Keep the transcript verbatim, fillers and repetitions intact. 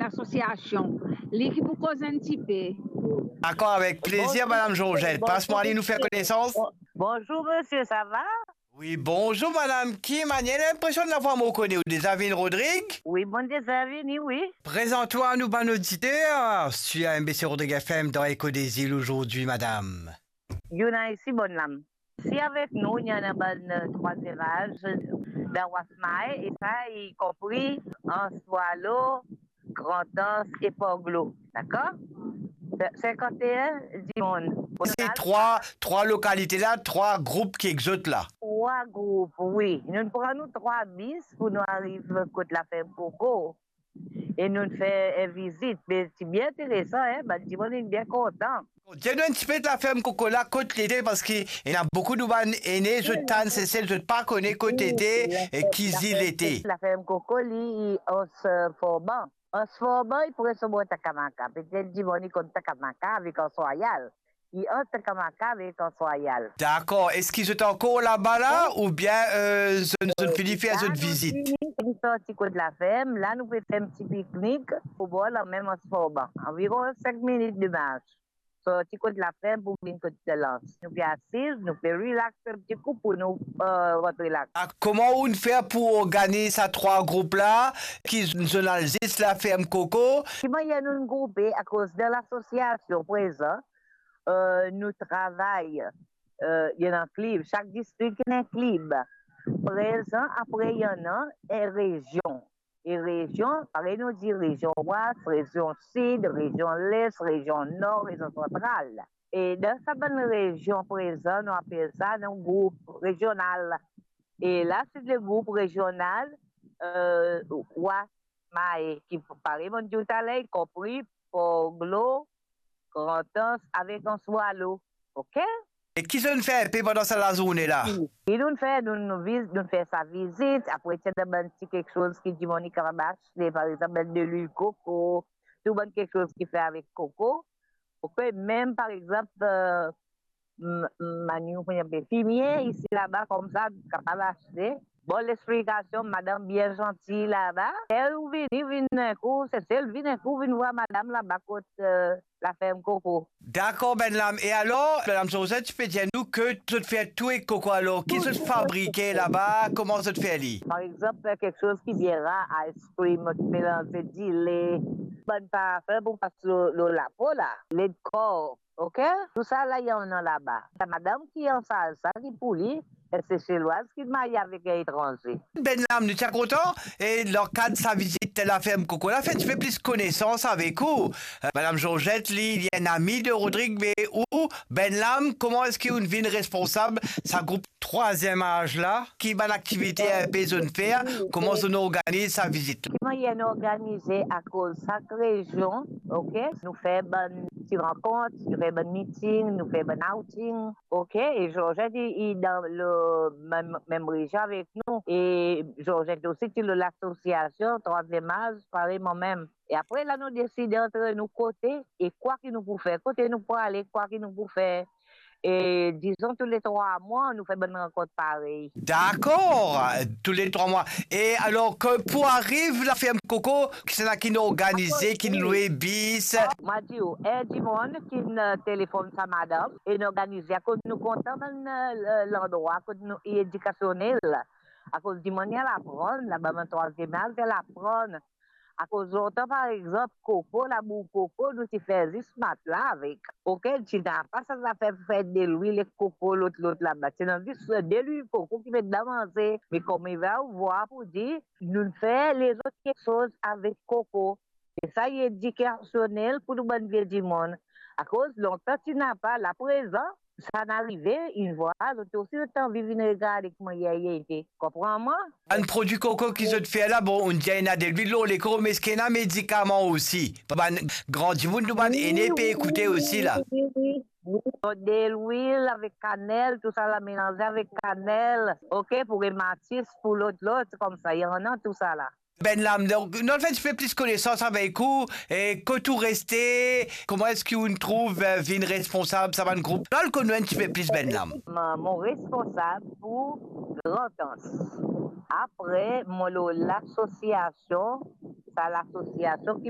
lasosiasion. Li ki pou koz enn tipe. Dakor, avek plezir, Madam Georgette. Pas mwa li, nou fer konesans. Bonzour, misie, sa va? Wi, bonzour, madam. Ki manier, linpresion de lavwa mo kone ou deza vinn, Rodrig? Wi, mo deza vini, wi. Prezant twa a nou bann oditer, si MBC Rodrig FM dan Eko Dezil azordi, madam. Youna isi, bonn lam. Si avek nou, ena bann, eh, trwaziem az, eh, dan Wasmae, e sa, i konpri Anse Boileau, Grand Anse e Port Glaud. Dakor? Se-, sinkant-e-enn dimoun. Se trwa, trwa lokalite la, trwa group ki ek zot la. Trwa group, wi. Nou pran nou trwa bis pou nou ariv kot laferm Koko. E nou fer enn vizit. Me ti bien interesan, en, bann dimoun inn bien kontan. Dir nou enn tipe laferm Koko la, kot li ete, parski ena boukou nou bann ene, zot tann Sesel, zot pa kone kot li ete, e ki zil li ete. Laferm Koko, li, Anse Forban. Anse Forban, li pre so bor Takamaka. Petet dimoun i konn Takamaka avek Anse Royale. Li ant Takamaka avek Anse Royale. Dakor. Eski zot ankor laba la, oubien, eh, zot, zot fini fer zot vizit? La, nou fini, nou sorti kot laferm. La, nou pe fer enn ti piknik o bor lamem Anse Forban. Anviron sink minit de mars. Sorti kot laferm pou vinn kot Delans. Nou pe asiz, nou pe relax enn ti kou pou nou, eh, rantre la. Ah, kouma ou'nn fer pou organiz sa trwa group la, ki zot al zis laferm Koko? Ki manier nou'nn groupe, akoz dan lasosiasion prezan, eh, nou travay, eh, ena klib, sak distrik ena klib. Prezan, apre ena enn rezion. E rezion, parey nou dir, rezion Wes, rezion Sid, rezion Les, rezion Nor, rezion Santral. E dan sa bann rezion prezan, nou apel sa nou group rezional. E la, se le group rezional, eh, Wasmae, ki parey mo'nn dir ou taler, i konpri Port Glaud, Grand Anse avek Anse Boileau. Ok? E ki zot fer enpe pandan sa lazourne la? Ki, ki nou fer, nou, nou viz-, nou fer sa vizit, apre ti ena bann ti kiksoz ki dimoun li kapav aste, par exanp, bann delwil koko, tou bann kiksoz ki fer avek koko. Ok, mem par exanp, eh, m-, m-, maniou, kouma apel, fimie isi laba koumsa, kapav aste. Bon, lexplikasion, madam bien zanti laba. Ler ou vini, vinn enn kou, Sesel, vinn enn kou, vinn vwar madam laba kot, eh, laferm koko. Dakor, bannla. E alor, madam Georgette, ti pe dir nou ki zot fer tou ek koko, alor ki zot fabrike laba, kouma zot fer li? Par exanp, fer kiksoz ki bien rar, ice cream, melanze dile, bann parfin pou pas lor, lor lapo la, led kor, ok? Tousala ena laba. Sa madam ki ansarz sa, ki pou li, enn Seselwaz ki marye avek enn etranze. Bannla, nou ti a kontan, e dan kad sa vizit laferm koko la, fer enn tipe plis konesans avek ou. Eh, madam Georgette, li, li enn ami de Rodrig, me ou, bannla, kouma eski ou'nn vinn responsab sa group trwaziem az la? Ki bann aktivite enpe zot fer? Kouma zot organiz sa vizit la? Ki manier nou organize, akoz sak rezion, ok, nou fer bann ti rankont, nou fer bann miting, nou fer bann outing, ok, e Georgette, li, li dan le mem, mem rezion avek nou, e Georgette osi, ti lor lasosiasion Trwaziem Az, parey mwa mem. E apre la, nou deside antre nou kote, e kwa ki nou pou fer, kote nou pou ale, kwa ki nou pou fer. E dizon, tou le trwa mwa, nou fer bann rankont parey. Dakor, tou le trwa mwa. E alor ki pou ariv laferm koko, kisannla ki'nn organize, ki'nn lwe bis? Mwa dir ou, enn dimoun ki'nn, eh, telefonn sa madam, e'nn organize, akoz nou kontan bann, eh, landrwa kot nou, li edikasionel. Akoz dimoun li al aprann, laba bann Trwaziem Az, li al aprann. Akoz lontan, par exanp, koko, labour koko, nou ti fer zis matla avek. Ok, ti napa sa zafer pou fer delwil ek koko, lot, lot laba. Ti ena zis delwil koko ki met dan manze. Me kouma ou vwar pou dir, nou fer lezot kiksoz avek koko. E sa, li edikasionel pou nou bann vie dimoun. Akoz lontan ti napa, la prezan, sa inn arive, inn vwar, zot osi zot anvi vinn regarde kouma li ete. Konpran mwa? Bann prodwi koko ki zot fer la, bon, ou'nn dir ena delwil lor lekor, me eski ena medikaman osi? Pou bann gran dimoun, nou bann ene pe ekoute osi la. Wi, wi, wi. Delwil avek kanel, tousala melanze avek kanel, ok, pou rematis, pou lot, lot, koumsa, ena tousala. Bannla, donk, nou al fer enn tipe plis konesans avek ou, e kot ou reste, kouma eski ou'nn trouv, eh, vinn responsab sa bann group? Nou al konn nou enn tipe plis, bannla. Mo, mo responsab pou Grand Anse. Apre, mo lor lasosiasion, sa lasosiasion ki